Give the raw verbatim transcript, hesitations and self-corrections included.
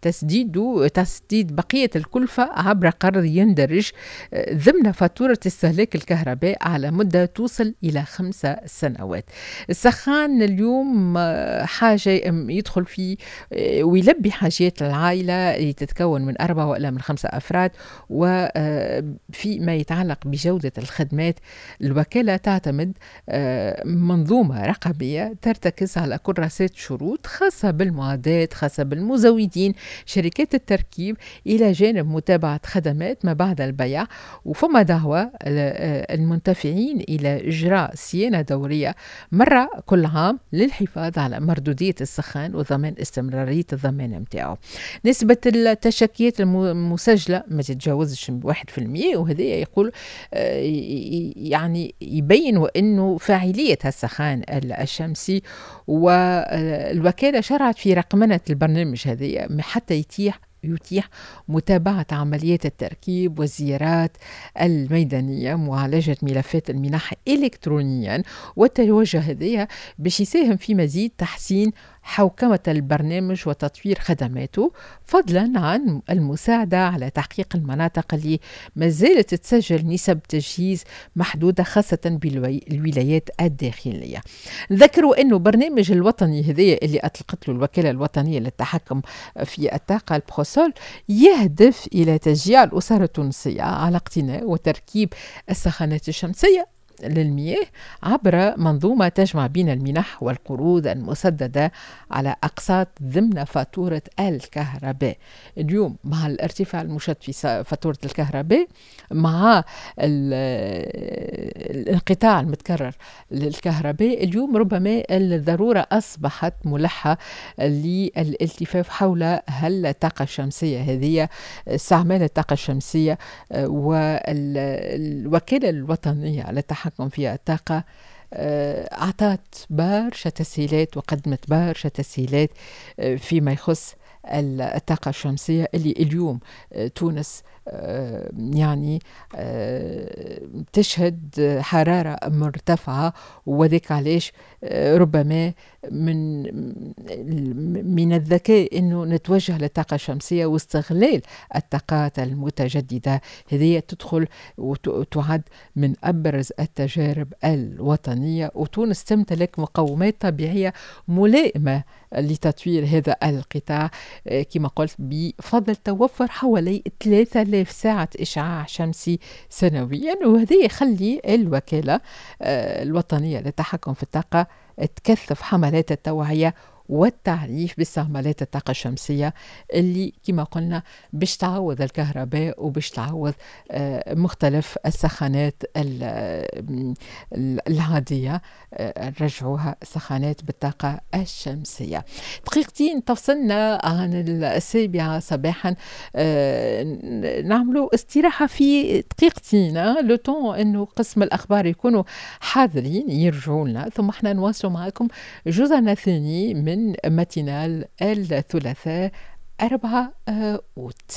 تسديد تسديد بقية الكلفة عبر قرض يندرج ضمن فاتورة استهلاك الكهرباء على مدة توصل إلى خمسة سنوات. السخان اليوم حاجة يدخل في ويلبي حاجات العائلة اللي تتكون من أربعة ولا من خمسة أفراد. وفي ما يتعلق بجودة الخدمات، الوكالة تعتمد منظومة رقابية ترتكز على كراسات شروط خاصة بالمعدات، خاصة بالمزودين، شركات التركيب، إلى جانب متابعة خدمات ما بعد البيع. وفما دعوة المنتفعين إلى إجراء صيانة دورية مرة كل عام للحفاظ على مردودية السخان وضمان استمرارية الضمان متاعه. نسبة التشكيات المسجلة ما تتجاوزش واحد في المية، وهذا يقول يعني يبين أنه فاعلية السخان الشمسي. والوكالة شرعت في رقمنة البرنامج هذه حتى يتيح يتيح متابعة عمليات التركيب والزيارات الميدانية، معالجة ملفات المنح إلكترونيا، والتوجه هذايا باش يساهم في مزيد تحسين حوكمة البرنامج وتطوير خدماته، فضلا عن المساعدة على تحقيق المناطق اللي ما زالت تسجل نسب تجهيز محدودة، خاصة بالولايات الداخلية. نذكروا أنه برنامج الوطني هذايا اللي أطلقت له الوكالة الوطنية للتحكم في الطاقة البروسول يهدف إلى تشجيع الأسر التونسية على اقتناء وتركيب السخانات الشمسية للمياه عبر منظومة تجمع بين المنح والقروض المسددة على أقساط ضمن فاتورة الكهرباء. اليوم مع الارتفاع المشد في فاتورة الكهرباء، مع الانقطاع المتكرر للكهرباء، اليوم ربما الضرورة أصبحت ملحة للالتفاف حول هل الطاقة الشمسية هذه، استعمال الطاقة الشمسية. والوكالة الوطنية للتحكم في الطاقة أعطت برشا تسهيلات وقدمت برشا تسهيلات فيما يخص الطاقة الشمسية اللي اليوم تونس يعني تشهد حرارة مرتفعة، وذلك علاش ربما من من الذكاء انه نتوجه للطاقة الشمسية واستغلال الطاقات المتجددة. هذه تدخل وتعد من ابرز التجارب الوطنية، وتونس تمتلك مقومات طبيعية ملائمة لتطوير هذا القطاع كما قلت بفضل توفر حوالي ثلاثة آلاف ساعة إشعاع شمسي سنويا، وهذا يخلي الوكالة الوطنية للتحكم في الطاقة تكثف حملات التوعية والتعريف باستعمالات الطاقة الشمسية اللي كما قلنا باش تعوض الكهرباء وباش تعوض مختلف السخانات العادية، نرجعوها سخانات بالطاقة الشمسية. دقيقتين تفصلنا عن السابعة صباحا، نعملوا استراحة في دقيقتين le temps انه قسم الأخبار يكونوا حاضرين يرجعوا لنا، ثم احنا نواصلوا معكم جزءنا الثاني من matinale الثلاثاء أربعة أوت.